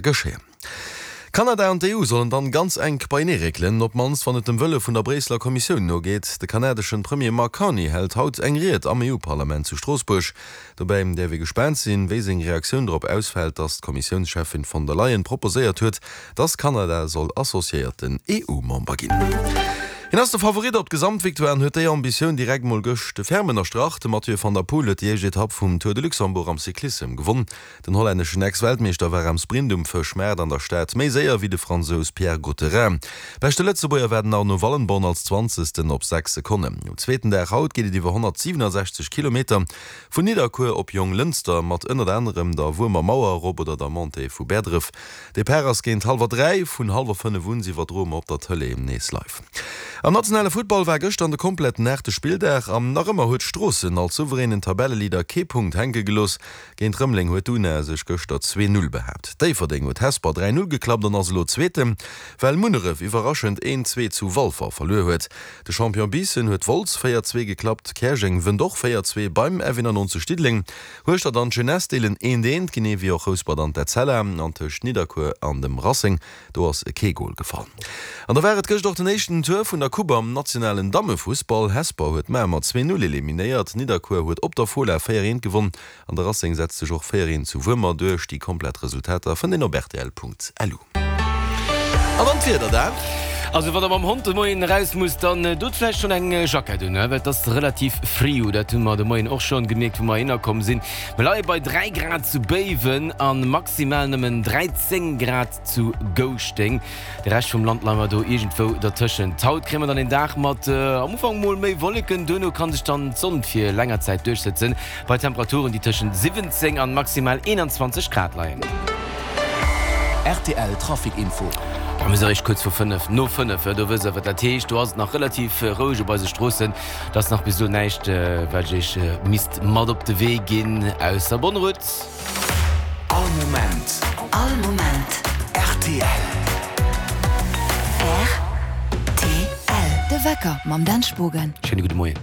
Geschéien. Kanada an d'EU sollen dann ganz enk beienee réckelen, op d'mannst wann et dem Wëlle vun der Bréisseler Kommissioun nogeet. De kanadeschen Premier Mark Carney hält haut eng Ried am EU-Parlament zu Stroossbuerg. Dobäi däerf ee gespaant sinn, wéi seng Reaktioun drop ausfält, datt d'Kommissiounscheffin von der Leyen proposéiert huet, datt Kanada soll associéierten EU-Member ginn. Hien ass de Favorit op d'Gesamtvictoire an huet déi Ambitioun direkt mol gëscht ferm ënnerstrach. De Mathieu van der Poel huet déi éischt Etapp vum Tour de Luxembourg am Cyclissem gewonn. Den hollänneschen Ex-Weltmeeschter war am Sprint um Fëschmaart an der Stad méi séier wéi de Fransous Pierre Gautherin. Beschte Lëtzebuerger war den Arno Wallenborn als Zwanzegsten op 6 Sekonnen. Um zweeten Dag haut geet et iwwer 167 Kilometer vun Nidderkuer op Jonglënster mat ënnert anerem der Wuermer Mauer erop oder der Montée vu Bäerdref. Depart ass géint hallwer 3, vun hallwer 5 un iwwerdroe mer op der Tëlee nees live. Am nationale Futtball war gëschter an de kompletten aachte Spilldag an nach ëmmer huet Stroossen als souveränen Tabelleleader kee Punkt hänke gelooss. Géint Rëmeleng huet d'UNA sech gëschter 2, 0 behaapt. Déifferdeng huet Hesper 3, 0 geklappt an ass elo Zweeten, well Munneref iwwerraschend 1, 2 zu Walfer verluer huet. De Champion Biissen huet Wolz 4, 2 geklappt. Käerjeng wënnt och 4, 2 beim F91 Diddeleng. Hueschtert an d'Jeunesse deelen 1, 1, genee wéi och Rouspert an d'Etzella. An tëscht Nidderkuer an dem Racing Do ass kee Gol gefall. An da war et gëscht och den éischten Tour vun der Coupe am nationalen Dammefussball. Hesper huet Mamer 2, 0 eliminéiert, Nidderkuer huet op der Fola 4, 1 gewonn an de Racing setzt sech och 4, 1 zu Wuermer duerch. Déi komplett Resultater fënnt een op rtl.lu. An dann d'Wieder, Dan. Also wann der mam Hond de Moien eraus musst, dann dot vläicht schonn eng Jackett un, well et ass relativ friu. Dat hu mer de Moien och schonn gemierkt, wou mer heihinner komm sinn. Mer leie bei 3 Grad zu Béiwen a maximal nëmmen 13 Grad zu Gouschteng. De Rescht vum Land leie mer do iergendwou dertëschent. Haut kréie mer dann een Dag mat am Ufank mol méi Wolleken, duerno kann sech dann d'Sonn fir länger Zäit duerchsëtzen, bei Temperaturen déi tëschent 17 an maximal 21 Grad leien. Rtl Trafic Info. Bon, mir si eréischt kuerz vu 5 no 5, do wësst der wat dat heescht. Do ass et nach relativ roueg op eise Stroossen. Et ass nach bis elo näischt wat ech iech misst mat op de Wee ginn, ausser Bonne route. All Moment. All Moment. Rtl. Rtl. De Wecker mam Dan Spogen. Schéine gudde Moien.